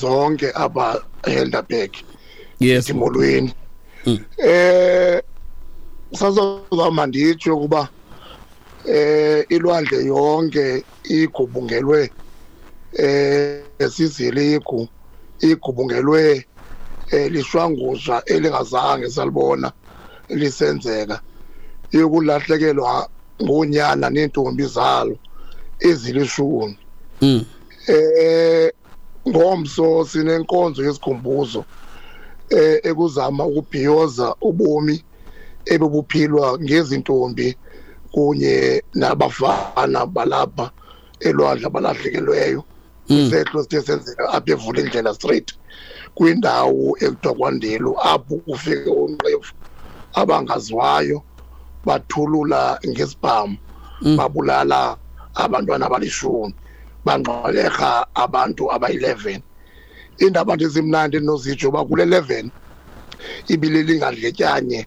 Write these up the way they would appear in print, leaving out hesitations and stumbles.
Zonke apha eHelderberg. Yes. Molweni. Sazozama nditsho ukuba ilwandle yonke igubungelwe siziligu, igubungelwe lishwangusha elingazange salibona lisenzeka, yokulahlekelwa ngonyana nentombi zalo ezilishumi. Ngomso sinenkonzo yesikhumbuzo ekuzama ukubhiyoza ubomi ebebuphilwa ngezintombi kunye nabafana balapha elwandle abalahlekelweyo. Isehlo sithe senzeka apha eVulindlela Street kwindawo ekuthiwa kwaNdelu, apho kufike onqevu abangaziwayo bathulula ngesibhamu, babulala abantwana abalishumi, bangxwelerha abantu abayi-11. Iindaba nje ezimnandi endinozitsho uba kule 11 ibilelingadletyanye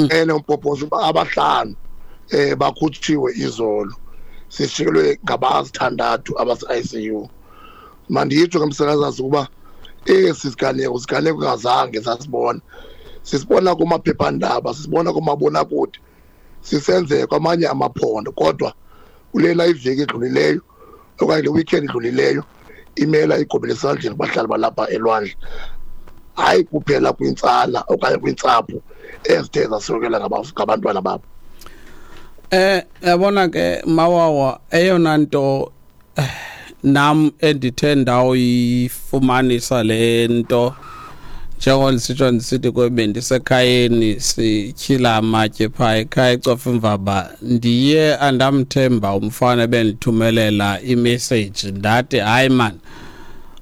enombhobhozo uba abahlanu bakhutshiwe izolo, sishikelwe ngabasithandathu abase-ICU. Manditsho ke, msakazazi, ukuba esi siganeko, siganeko ngazange sasibona, sisibona kumaphephandaba, sisibona kumabonakude sisenzeka kwamanye amaphondo, kodwa kulena iveki edlulileyo okanye le weekend idlulileyo imela igobele esandleni kubahlali balapha elwandle, hayi kuphela kwintsana okanye kwintsapho ezithe zaswelekelwa ngabantwana babo. Yabona ke Mawawa, eyona nto nam endithe ndawoyifumanisa le nto, njengoba ndisitsho ndisithi kwe bendisekhayeni sityhila amatye phaa ekhaya eCofimvaba, ndiye andamthemba umfana ebendithumelela imessage, ndathi hayi man,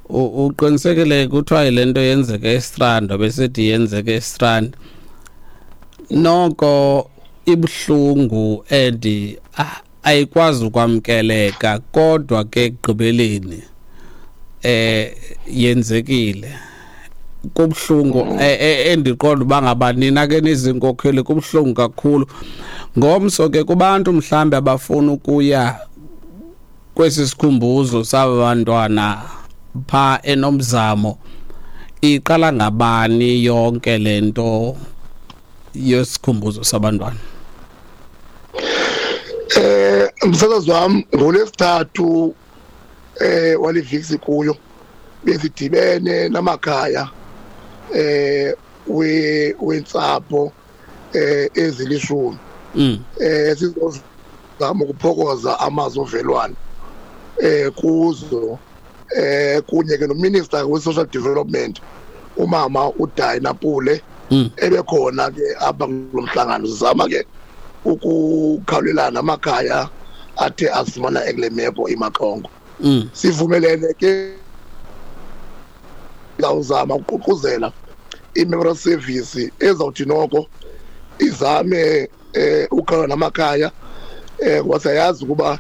uqinisekile kuthiwa yile nto yenzeka eStrand, besithi yenzeka eStrand. Noko ibuhlungu and ayikwazi ukwamkeleka, kodwa ke ekugqibeleni yenzekile. Kubuhlungu, endiqonda uba ngaba nina ke nizinkokheli kubuhlungu kakhulu. Ngomso ke kubantu mhlambe abafuna ukuya kwesi sikhumbuzo saba bantwana pha eNomzamo, iqala ngabani yonke lento yesikhumbuzo sabantwana? Msakazi wam, ngolwesithathu waliviksi kuyo besidibene namakhaya we wentsapho ezilishumi sizozama ukuphokoza amazwi ovelwano kuzo, kunye ke nominister we-social development, umama uDina Pule, ebekhona ke apha kulo mhlangano. Sizama ke ukukhawulelana amakhaya athe azifumana ekule meko imaxongo. Sivumelene ke zawuzama ukuququzela i-memorial service ezawuthi noko izame ukukhawula namakhaya, ngoba siyayazi ukuba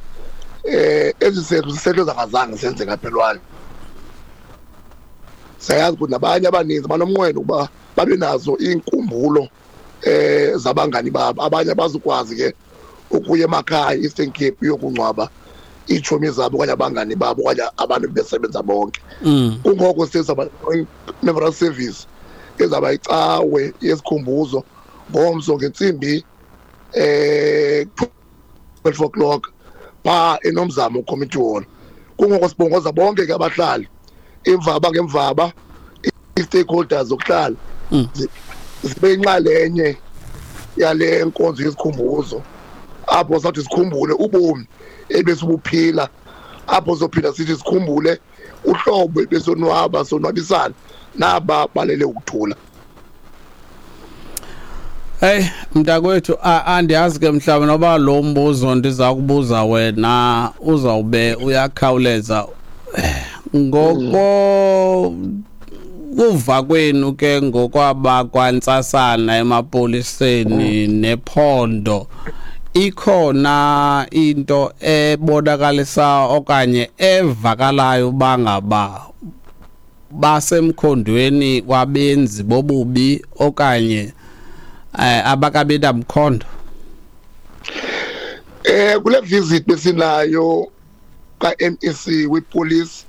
esi sehlo sisehlo zangazange senzeka apha elwandle. Siyayazi ukuthi nabanye abaninzi banomnqweno ukuba babe nazo iinkumbulo zabangani babo. Abanye abazukwazi ke ukuya emakhaya Eastern Cape uyokungcwaba iitshomi zabo okanye abangani babo okanye abantu besebenza bonke. Kungoko sizaba memorial service ezaba icawe yesikhumbuzo ngomso ngentsimbi 12 o'clock pha eNomzamo Community Hall. Kungoko sibongoza bonke ke abahlali, imvaba ngemvaba, i-stakeholders zokuhlala zibe inxalenye yale nkonzo yesikhumbuzo, apho sathi sikhumbule ubomi ebesibuphila, apho sophinda sithi sikhumbule uhlobo ebesonwaba sonwabisana naba balele ukuthula. Hey mntakwethu, andiyazi ke mhlawumbe noba lo mbuzo ndiza kubuza wena uzawube uyakhawuleza. Ngoko kuva kwenu ke ngokwaba kwantsasana emapoliseni nephondo, ikhona into ebonakalisa okanye evakalayo bangaba basemkhondweni wabenzi bobubi okanye abakabi namkhondo? Kule visit besinayo ka-MEC wepolice